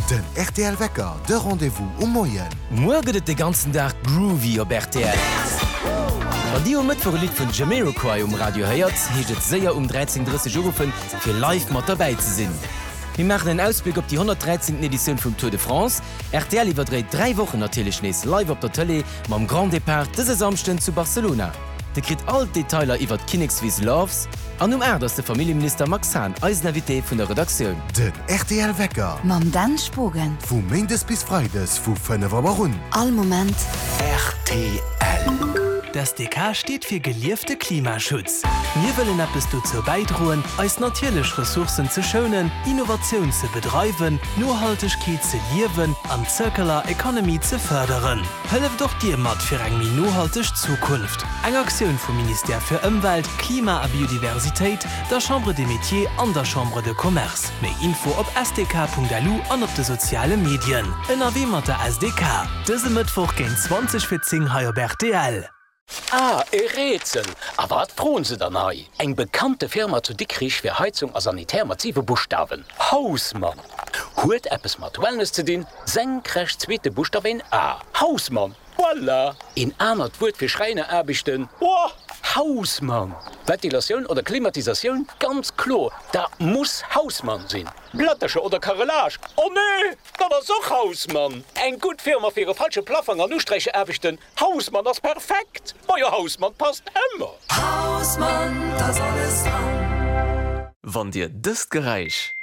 Den rtl Wecker, de Rendez-vous um Moien. Muer gëtt et de ganzen Dag groovy op rtl. Wann dir um Mëttwoch e Lidd vun Jamiroquai um Radio héiert, heescht et séier um 13:30 uruffen, fir live mat derbäi ze sinn. Mir maachen en Ausbléck op déi 113. Editioun vum Tour de France. Rtl iwwerdréit 3 Wochen natierlech nees live op der Tëlee mam Grand Départ dëse Samschden zu Barcelona. Dir kritt all d'Detailer iwwert d'Kinnekswiss Loves. An um 8 ass de Familljeminister Max Hahn eisen Invité vun der Redaktioun. Den rtl Wecker. Mam Dan Spogen. Vu Méindes bis Freides vu 5 Auer un. All Moment. Rtl. D'SDK steet fir geliefte Klimaschutz. Mir wëllen eppes dozou bäidroen, eis natierlech Ressourcen ze schounen, Innovatioun ze bedreiwen, Nohaltegkeet ze liewen an d'Circular Economy ze fërderen. Hëlleft och Dir mat fir eng méi nohalteg Zukunft! Eng Aktioun vum Ministère fir Ëmwelt, Klima a Biodiversitéit, der Chambre des Métiers an der Chambre de Commerce. Méi Info op sdk.lu an op de soziale Medien. Ënnerwee mat der SDK, dëse Mëttwoch géint 20 fir 10 hei op rtl. Ah, e Rätsel! A wat froen se dann hei? Eng bekannte Firma zu Dikrich fir Heizung a Sanitär mat siwe Buschtawen, Hausmann! Huet eppes mat Wellness ze dinn, senkrecht zweete Buschtaf een A, Hausmann! Voilà! Een anert Wuert fir Schräineraarbechten, Boah! Hausmann! Ventilatioun oder Klimatisatioun, ganz kloer, dat muss Hausmann sinn! Plättercher oder Carrelage, oh nee, dat ass och Hausmann! Eng gutt Firma fir e falsche Plaffang an Usträicheraarbechten, Hausmann ass perfekt! Majo Hausmann passt ëmmer! Hausmann, t'ass alles dran! Wann Dir dëst Geräisch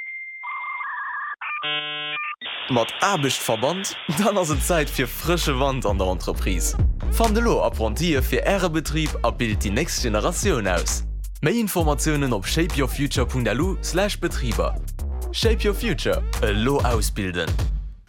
mat Aarbecht verbannt, dann ass et Zäit fir frësche Wand an der Entreprise. Fannt elo Apprentië fir Äre Betrib a bilt déi nächst Generatioun aus. Méi Informatiounen op shapeyourfuture.lu slash Betriber. Shape your future, elo ausbilden!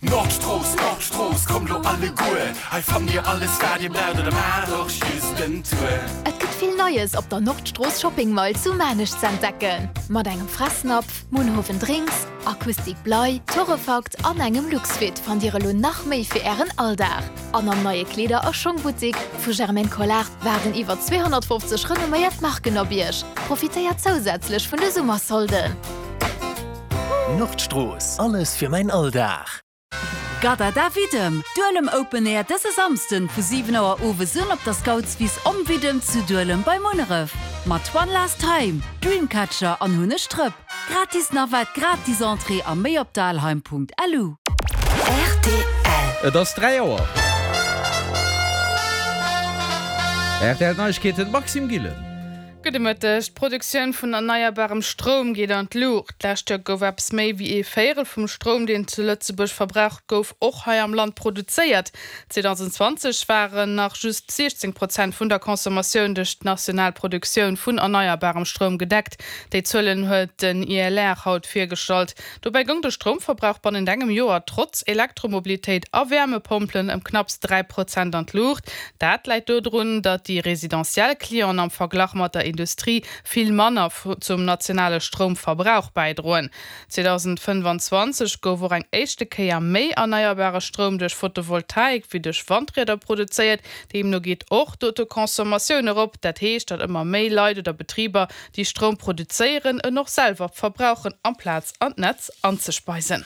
Nordstrooss, Nordstrooss, kommt lo alleguer, hei fannt dir alles wat dir braucht oder maacht och just en Tour. Et gëtt vill Neies op der Nordstrooss Shopping Mall zu Maarnech z'entdecken. Mat engem Fressnapf, Munhowen Drinks, Acoustic Blei, Torrefakt an engem Luxfit fannt dir elo nach méi fir ären Alldag. An am neie Kleeder a Schongbuttik vu Germaine Collard waarden iwwer 250 renomméiert Marken op iech. Profitéiert zousätzlech vun de Summersolden. Nordstrooss, alles fir mäin Alldag. Gadada Widdem, Duelem Open Air dëse Samsden vu 7 Auer owes un op der Scoutswiss Om Widdem zu Duelem bei Munneref. Mat One Last Time, Dreamcatcher an Hunn ech Drëpp. Gratis Navette, gratis Entrée a méi op dalheim.lu. Rtl. Et ass 3 Auer. Rtl Neiegkeeten, Maxime Gillen. Gudde Mëtteg. D'Produktioun vun erneierbarem Stroum geet an d'Luucht. D'lescht Joer gouf eppes méi wéi ee Véierel vum Stroum, deen zu Lëtzebuerg verbraucht gouf, och hei am Land produzéiert. 2020 waren nach just 16 Prozent vun der Consommatioun duerch d'national Produktioun vun erneierbarem Stroum gedeckt. Déi Zuelen huet den ILR haut virgestallt. Dobäi goung de Stroumverbrauch bannent engem Joer trotz Elektromobilitéit a Wäermepompelen ëm knapps 3 Prozent an d'Luucht. Dat läit dodrun, datt déi residentiell Clienten am Verglach mat der Industrie vill manner zum nationale Stroumverbrauch bäidroen. 2025 gouf och eng éischte Kéier méi erneierbare Stroum duerch Photovoltaik wéi duerch Wandrieder produzéiert. Deemno geet och d'Autoconsommatioun erop. Dat heescht, datt ëmmer méi Leit oder Betriber déi Stroum produzéieren, en och selwer verbrauchen amplaz an d'Netz anzespeisen.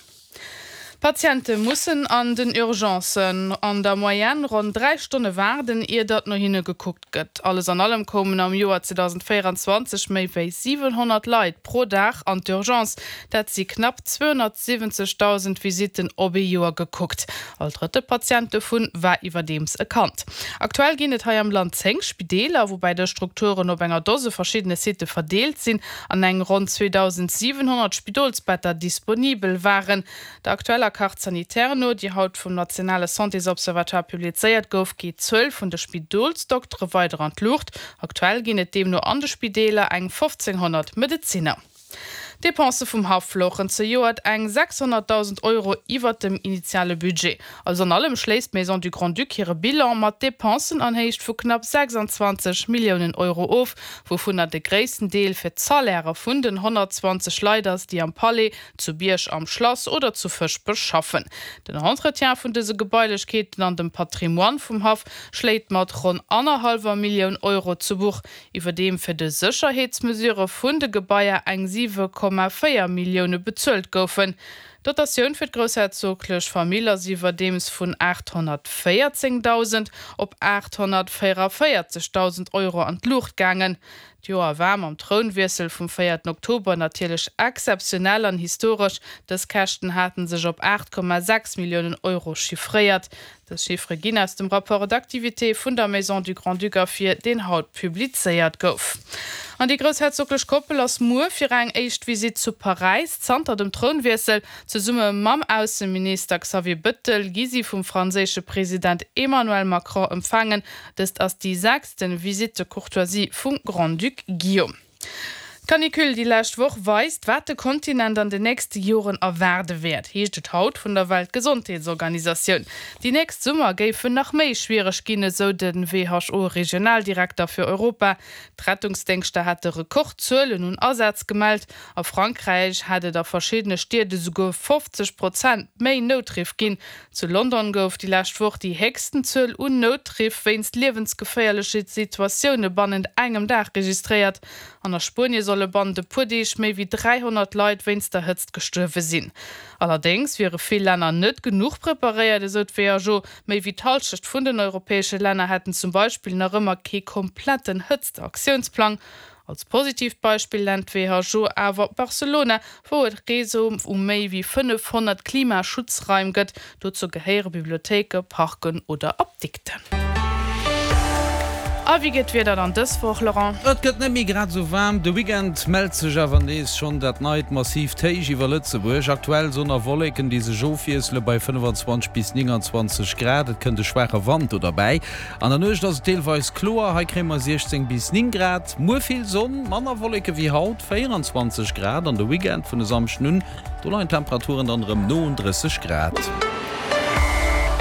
Patiente mussen an den Urgencen an der Moyenne ronn 3 Stonne waarden, ier datt no hinne gekuckt gëtt. Alles an allem koumen am Joer 2024 méi wéi 700 Leit pro Dag an d'Urgence. Dat si knapp 270.000 Visitten op ee Joer gekuckt. All drëtte Patient dovun war iwwerdeems e Kand. Aktuell ginn et hei am Land 10 Spideeler, woubäi dës Strukturen op enger Dose verschiddene Sitte verdeelt sinn an eng ronn 2.700 Spidolsbetter disponibel waren. Der aktueller Carte sanitaire no, déi haut vum nationale Santésobservatoire publizéiert gouf, geet d'Zuel vun de Spidolsdoktere weider an d'Luucht. Aktuell ginn et deemno an de Spideeler eng 1.500 Medezinner. D'Depensë vum Haff louchen zejoert eng 600.000 Euro iwwert dem initiale Budget. Alles an allem schléisst d'Maison du Grand-Duc hire Bilan mat Depensen an Héicht vu knapp 26 Milliounen Euro of, wouvunner de gréissten Deel fir d'Salairë vun den 120 Leit ass, déi am Palais, zu Bierg am Schlass oder zu Fëschbech schaffen. Den Entretien vun dëse Gebailechkeeten an dem Patrimoine vum Haff schléit mat ronn annerhallwer Millioun Euro zu Buch. Iwwerdeem fir de Sécherheetsmesurë vun de Gebaier eng 7,4 Millioune bezuelt goufen. D'Dotatioun fir d'groussherzoglech Famill ass iwwerdeems vun 814.000 op 844.000 Euro an d'Luucht gaangen. D'Joer war mam Trounwiessel vum véierten Oktober natierlech exzeptionell an historesch. Dës Käschten haten sech op 8,6 Milliounen Euro chiffréiert. Dës Chiffere ginn aus dem Rapport d'activité vun der Maison du Grand-Duc ervir, deen haut publizéiert gouf. An déi groussherzoglech Koppel ass muer fir eng éischt Visitt zu Paräis. Zanter dem Trounwiessel, zesumme mam Ausseminister Xavier Bëttel, gi si vum franséische President Emmanuel Macron empfaangen. Dëst ass déi sechsten Visite de courtoisie vum Grand-Duc Guillaume. D'Canicule déi lescht Woch weist, wat de Kontinent an den nächste Joren erwaarde wäert, heescht et haut vun der Weltgesondheetsorganisatioun. Déi nächst Summer géifen nach méi schwiereg ginn, esou de WHO-Regionaldirekter fir Europa. D'Rettungsdéngschter hätte Rekordzuelen un Asätz gemellt. A Frankräich hätt et a verschiddene Stied esouguer 50 Prozent méi Noutriff ginn. Zu London gouf déi lescht Woch déi héchsten Zuel un Noutriff wéinst liewensgeféierleche Situatioune bannent engem Dag registréiert. An a Spuenie solle bannent e puer Deeg méi wéi 300 Leit wéinst der Hëtzt gestuerwe sinn. Allerdéngs wiere vill Länner net genuch preparéiert, esou d'WHO. Méi wéi d'Hallschecht vun den europäesche Länner hätten zum Beispill nach ëmmer kee kompletten Hëtztaktiounsplang. Als positiivt Beispill nennt d'WHO awer Barcelona, wou et Réseau u méi wéi 500 Klimaschutzraim gëtt. Dozou gehéiere Bibliothéike, Parken oder Apdikten. A wéi gëtt d'Wieder dann dës Woch, Laurent? Et gëtt net méi grad esou waarm. De Weekend mellt sech awer nees schonn dat neit massiivt Héich iwwer Lëtzebuerg. Aktuell Sonn a Wolleken, déi sech ofwiessele bei 25 bis 29 Grad. Et kënnt e schwaache Wand do derbäi. An der Nuecht ass et deelweis kloer, hei kréie mer 16 bis 9 Grad. Muer vill Sonn, manner Wolleke wéi haut, 24 Grad. An de Weekend vun e Samschden un, do leien d'Temperaturen dann erëm no un 30 Grad.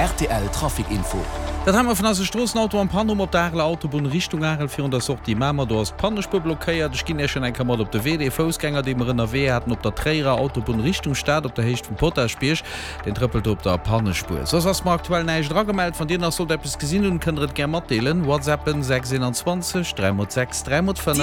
Rtl Trafic Info. Dat hei mer vun eise Stroossen, Auto en Panne um op der Areler Autobunn Richtung Arel virun der Sortie Mamer, do ass d'Pannespuer blockéiert. Ech ginn Iech en eng Kéier mat op de Wee. Dee Foussgänger, dee mer ënnerwee haten op der Tréierer Autobunn Richtung Stad op der Héicht vum Potaschbierg, Deen trëppelt do op der Pannespuer. Soss ass mer aktuell näischt eragemellt. Wann dir nach sollt eppes gesinn hunn, kënnt der et gär matdeelen. WhatsAppen 6 21 3 x 6 3 x 5.